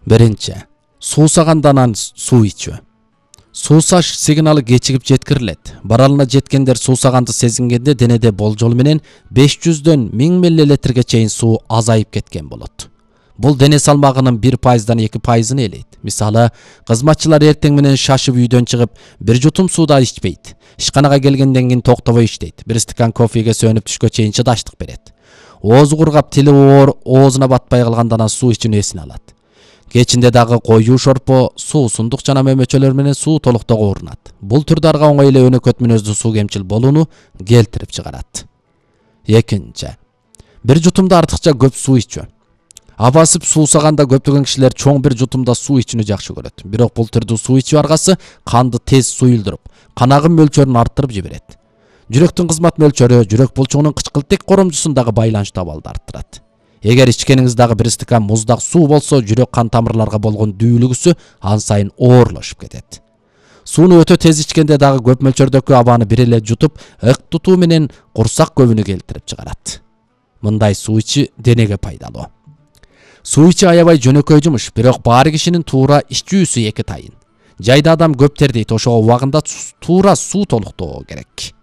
Birinchi, suusagandan suu içүү. Suусаш сигналы кечигип жеткирилет. Баралына жеткендер суусаганды сезингенде денеде болжол менен 500дөн 1000 миллилитрге чейин суу азайып кеткен болот. Бул дене салмагынын 1%дан 2%-ын ээлейт. Мисалы, кызматчылар эртең менен шашып үйдөн чыгып, бир жутум сууda ичпейт. Ишканага келгенден кийин токтобой иштейт. Бир стакан кофеге сөнүп түшкө чейин чыдаштык берет. Оозу кургап, тили оор, оозуна батпай калгандан суу ичүүнү эсине алат. Кечинде дагы коюу шорпо, суусундук жана мөмөчөлөр менен суу толуктоого урунат. Бул түрдарга оңой эле өнөкөт мүнөздүү суу кемчил болууну келтирип чыгарат. Экинчи, бир жутумда артыкча көп суу ичүү. Абасып суусаганда көптөгөн кишилер чоң бир жутумда суу ичүүнү жакшы көрөт. Бирок бул түрдүү суу ичүү аргасы канды тез суюлдуруп, канагын мөлчөрүн арттырып жиберет. Жүрөктүн кызмат мөлчөрү жүрөк булчугунун кычкылтек коромчусундагы байланыштуу абалды арттырат. Эгер ичкениңиз дагы бир стакан муздак суу болсо, жүрөк кан тамырларга болгон дүүлүгүсү ан сайын оорлошуп кетет. Сууну өтө тез ичкенде дагы көп мөлчөрдөгү абаны бир эле жутуп, ык тутуу менен курсак көбүнү келтирип чыгарат. Мындай суу ичүү денеге пайдалуу. Суу ичүү аябай жөнөкөй жумуш, бирок баары кишинин туура ичүүсү эки тайын. Жайда адам көп тердейт, ошого убагында туура суу толуктоо керек.